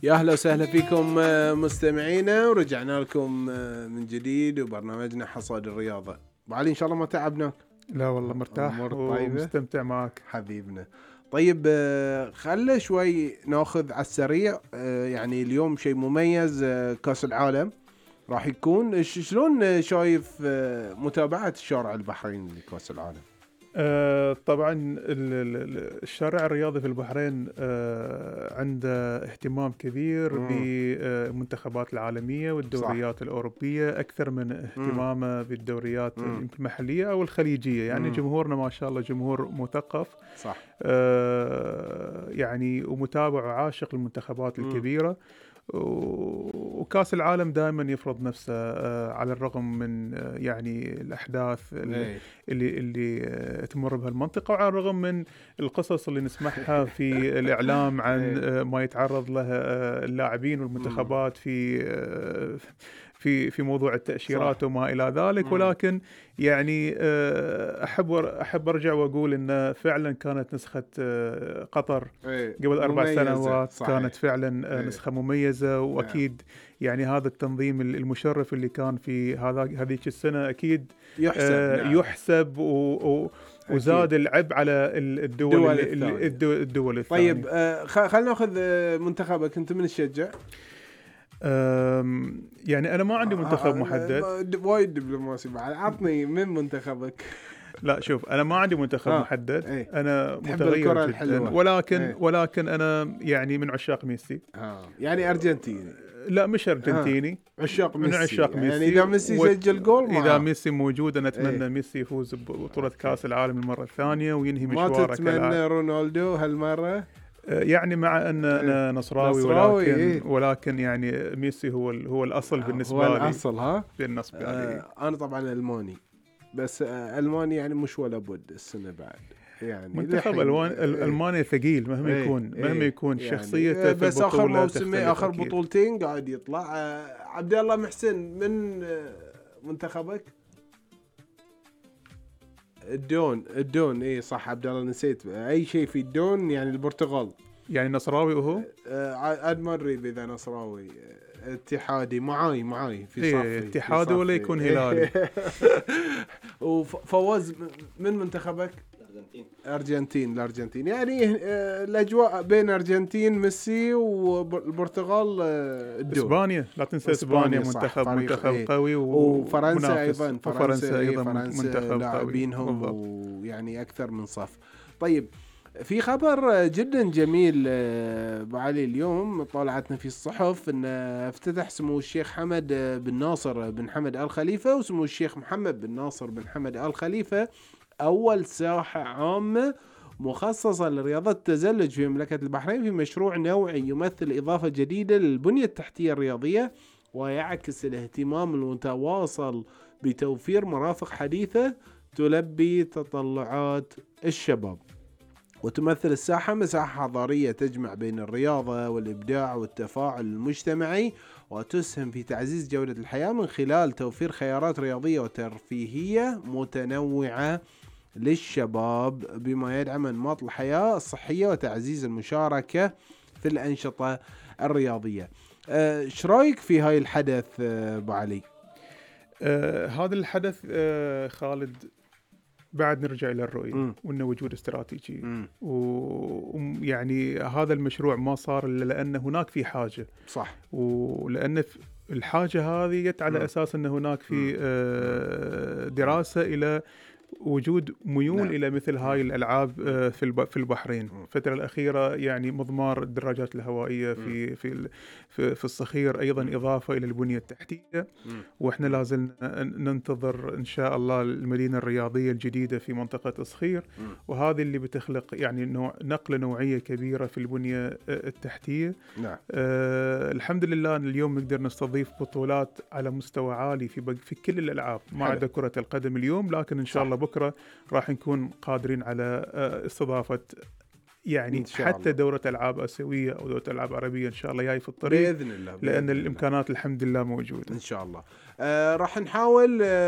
يا أهلا وسهلا فيكم مستمعينا، ورجعنا لكم من جديد وبرنامجنا حصاد الرياضة. بعلي إن شاء الله ما تعبناك؟ لا والله مرتاح ومستمتع معك حبيبنا. طيب خلنا شوي ناخذ على السريع، يعني اليوم شيء مميز، كأس العالم راح يكون. شلون شايف متابعة الشارع البحريني لكأس العالم؟ طبعا الشارع الرياضي في البحرين عنده اهتمام كبير بالمنتخبات العالمية والدوريات صح. الأوروبية أكثر من اهتمامه بالدوريات المحلية أو الخليجية. يعني جمهورنا ما شاء الله جمهور مثقف صح. يعني ومتابع وعاشق للمنتخبات الكبيرة، وكاس العالم دائما يفرض نفسه على الرغم من يعني الأحداث اللي تمر بها المنطقة، وعلى الرغم من القصص اللي نسمعها في الإعلام عن ما يتعرض له اللاعبين والمنتخبات في موضوع التأشيرات وما إلى ذلك. ولكن يعني أحب أرجع وأقول إن فعلا كانت نسخة قطر قبل 4 سنوات صحيح. كانت فعلا نسخة مميزة، وأكيد يعني هذا التنظيم المشرف اللي كان في هذيك السنة أكيد يحسب وزاد العب على الدول الثانية. طيب خلنا نأخذ منتخبك، أنت من تشجع؟ يعني أنا ما عندي منتخب محدد. وايد دبلوماسي بعد، عطني من منتخبك. لا شوف، أنا ما عندي منتخب محدد. أنا متغير جدا، ولكن أنا يعني من عشاق ميسي. يعني أرجنتيني؟ لا مش أرجنتيني، عشاق من عشاق ميسي. يعني إذا ميسي سجل جول إذا ميسي موجود أنا أتمنى ميسي يفوز ببطولة كأس العالم المرة الثانية وينهي مشواره. ما تتمنى رونالدو هالمرة؟ يعني مع أن أنا نصراوي ولكن يعني ميسي هو الأصل بالنسبة لي. هو الأصل بالنسبة لي. أنا طبعا ألماني، بس ألماني يعني مش ولا بد السنة بعد. يعني منتخب ألمانيا ثقيل مهما يكون شخصيته بس آخر موسم آخر بطولتين قاعد يطلع. عبد الله محسن من منتخبك؟ الدون ايه صح عبد الله، نسيت اي شيء في الدون. يعني البرتغال يعني نصراوي وهو ادمري اذا نصراوي اتحادي معاي في صف اتحادي ولا يكون هلالي. وفوز من منتخبك؟ الأرجنتين. يعني الأجواء بين أرجنتين ميسي والبرتغال الدول. إسبانيا لا تنسى، إسبانيا منتخب قوي، وفرنسا أيضا منتخب لاعبينهم ويعني أكثر من صف. طيب في خبر جدا جميل بعلي، اليوم طلعتنا في الصحف أن افتتح سمو الشيخ حمد بن ناصر بن حمد آل خليفة وسمو الشيخ محمد بن ناصر بن حمد آل خليفة أول ساحة عامة مخصصة لرياضة التزلج في مملكة البحرين، في مشروع نوعي يمثل إضافة جديدة للبنية التحتية الرياضية، ويعكس الاهتمام المتواصل بتوفير مرافق حديثة تلبي تطلعات الشباب. وتمثل الساحة مساحة حضارية تجمع بين الرياضة والإبداع والتفاعل المجتمعي، وتسهم في تعزيز جودة الحياة من خلال توفير خيارات رياضية وترفيهية متنوعة للشباب، بما يدعم أنماط الحياة الصحية وتعزيز المشاركة في الأنشطة الرياضية. ايش رايك في هاي الحدث بعلي؟ هذا الحدث خالد بعد نرجع إلى الرؤية وإنه وجود استراتيجي، ويعني هذا المشروع ما صار إلا لأن هناك في حاجة صح، ولأن الحاجة هذه جت على أساس أن هناك في دراسة إلى وجود ميول إلى مثل هاي الألعاب في البحرين. الفترة الأخيرة يعني مضمار الدراجات الهوائية في الصخير أيضا إضافة إلى البنية التحتية، وإحنا لازم ننتظر إن شاء الله المدينة الرياضية الجديدة في منطقة الصخير، وهذه اللي بتخلق يعني نقلة نوعية كبيرة في البنية التحتية. الحمد لله أن اليوم نقدر نستضيف بطولات على مستوى عالي في كل الألعاب ما عدا كرة القدم اليوم، لكن إن شاء الله بكرة راح نكون قادرين على استضافة يعني حتى دورة ألعاب آسيوية أو دورة ألعاب عربية إن شاء الله جاي في الطريق بإذن الله، لأن الإمكانات الحمد لله موجودة إن شاء الله. راح نحاول